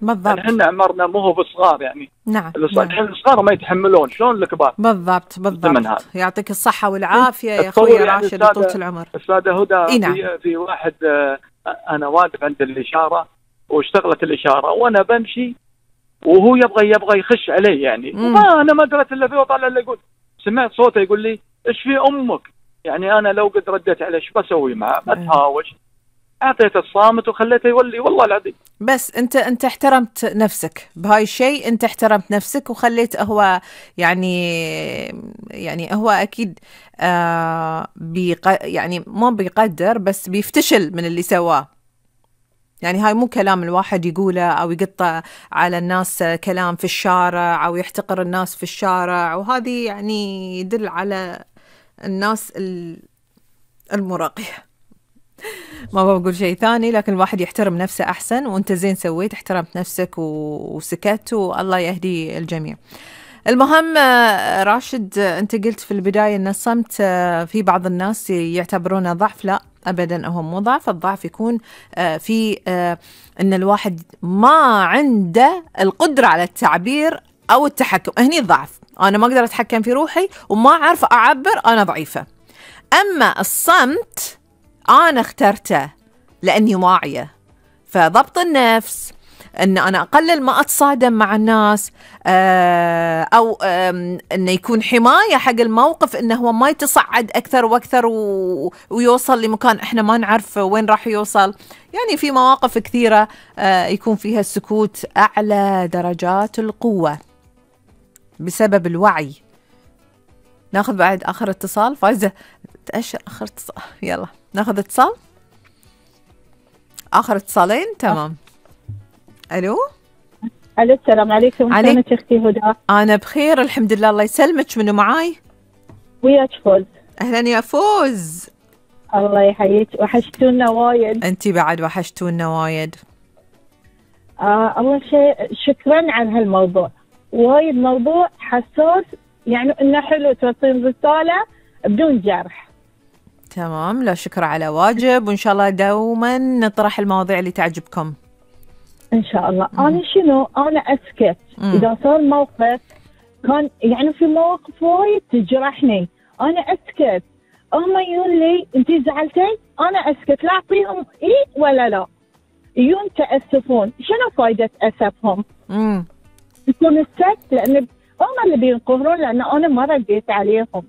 بالضبط. احنا عمرنا مو هو بالصغار يعني. نعم. الحين الصغار ما يتحملون، شلون الكبار؟ بالضبط. يعطيك الصحة والعافية يا أخوي يعني راشد وطولة العمر. أستاذة هدى، نعم. في واحد أنا واقف عند الإشارة واشتغلت الإشارة وأنا بمشي وهو يبغى يخش علي يعني، أنا ما درت إلا فيه وطالع اللي يقول، سمعت صوته يقول لي إيش في أمك؟ يعني أنا لو قد رديت عليه إيش بسوي معه؟ بتهاوش. أعطيته الصامت وخليته يولي والله العظيم. بس أنت احترمت نفسك بهاي الشيء، أنت احترمت نفسك وخليت هو يعني هو أكيد يعني ما بيقدر بس بيفتشل من اللي سواه. يعني هاي مو كلام الواحد يقوله أو يقطع على الناس كلام في الشارع أو يحتقر الناس في الشارع، وهذه يعني يدل على الناس المراقية. ما بقول شيء ثاني، لكن الواحد يحترم نفسه أحسن، وأنت زين سويت احترمت نفسك وسكت، والله يهدي الجميع. المهم راشد، أنت قلت في البداية أن الصمت في بعض الناس يعتبرونه ضعف. لا أبدا، هو مو ضعف. الضعف يكون في أن الواحد ما عنده القدرة على التعبير أو التحكم، هني الضعف. أنا ما أقدر أتحكم في روحي وما أعرف أعبر، أنا ضعيفة. أما الصمت أنا اخترته لأني واعية، فضبط النفس، أن أنا أقلل ما أتصادم مع الناس، أو أنه يكون حماية حق الموقف، أنه هو ما يتصعد أكثر وأكثر ويوصل لمكان إحنا ما نعرف وين راح يوصل. يعني في مواقف كثيرة يكون فيها السكوت أعلى درجات القوة بسبب الوعي. ناخذ بعد آخر اتصال. فايزة تأشر آخر اتصال، يلا ناخذ اتصال. آخر اتصالين. تمام. ألو. السلام عليكم. كيفك أختي هدى؟ أنا بخير الحمد لله، الله يسلمك. منو معاي؟ وياك فوز. أهلا يا فوز. الله يحييك، وحشتونا وايد. أنتي بعد وحشتونا وايد. أول شيء شكرا على هالموضوع، وايد موضوع حساس، يعني إنه حلو توصل رسالة بدون جرح. تمام، لا شكر على واجب، وإن شاء الله دوما نطرح المواضيع اللي تعجبكم إن شاء الله. أنا أسكت إذا صار موقف، كان يعني في مواقف وايد تجرحني، أنا أسكت. هم يقول لي أنتي زعلتي، أنا أسكت، لا أعطيهم إيه ولا لا، يون تأسفون. شنو فايدة أسفهم؟ يكون السكت لأن هم اللي بينقهرون، لأن أنا ما رديت عليهم.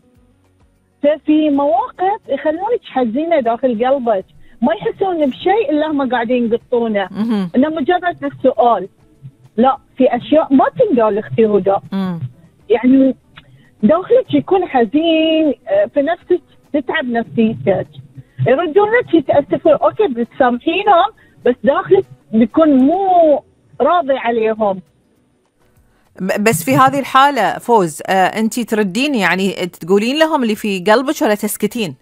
ففي مواقف يخلونك حزينة داخل قلبك، ما يحسون بشيء إلا هم قاعدين يقطونه، إنه مجرد السؤال. لا، في أشياء ما تنقال أختي هدى، يعني داخلك يكون حزين، في نفسك تتعب نفسيتك، يردون لك يتأسفون، أوكي بتسامحينهم، بس داخلك بيكون مو راضي عليهم. بس في هذه الحالة فوز، أنتي تردين يعني تقولين لهم اللي في قلبك ولا تسكتين؟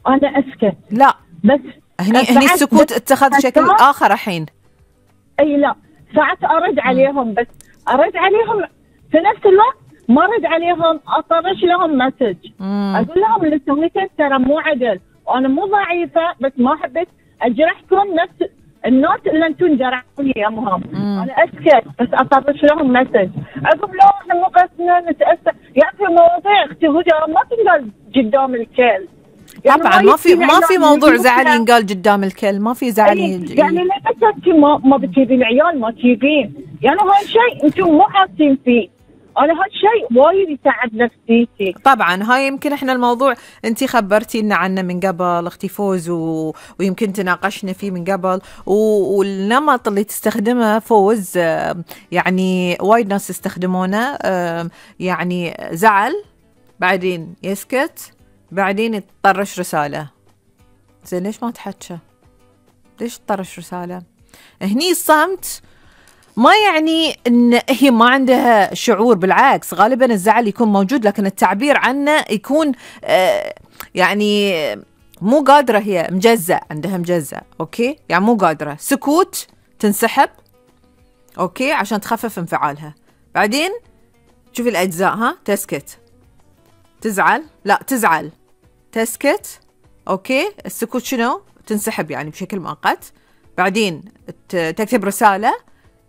أنا أسكت. لا بس هني السكوت اتخذ شكل آخر الحين. أي لا، ساعات أرد عليهم، بس أرد عليهم في نفس الوقت ما أرد عليهم، أطرش لهم مسج، أقول لهم اللي سويته ترى مو عدل، وأنا مو ضعيفة، بس ما حبيت أجرحكم نفس الناس اللي أنتم جرحوني يومهم. أنا أسكت بس أطرش لهم مسج، أقول لا إحنا مو قصدنا نتأسف. يعني في مواضيع أختي هدى ما تنقال قدام الكل. يعني طبعا ما في موضوع زعل ينقال قدام الكل، ما في زعل. يعني ليش انت ما بتجيبين عيال، ما تجيبين، يعني هاي شيء انتم مو حاسين فيه. انا هاي شيء وايد يتعب نفسيتي. طبعا هاي يمكن احنا الموضوع انتي خبرتينا عنه من قبل اختي فوز، ويمكن تناقشنا فيه من قبل، والنمط اللي تستخدمه فوز يعني وايد ناس يستخدمونه، يعني زعل بعدين يسكت بعدين يطرش رسالة. زين ليش ما تحكى؟ ليش تطرش رسالة؟ هني الصمت ما يعني ان هي ما عندها شعور، بالعكس غالبا الزعل يكون موجود، لكن التعبير عنه يكون يعني مو قادرة، هي مجزأ، عندها مجزأ. اوكي، يعني مو قادرة، سكوت، تنسحب اوكي عشان تخفف انفعالها. بعدين شوفي الاجزاء، ها، تسكت، تزعل، لا تزعل، تسكت، اوكي، السكوت شنو؟ تنسحب يعني بشكل مؤقت، بعدين تكتب رسالة،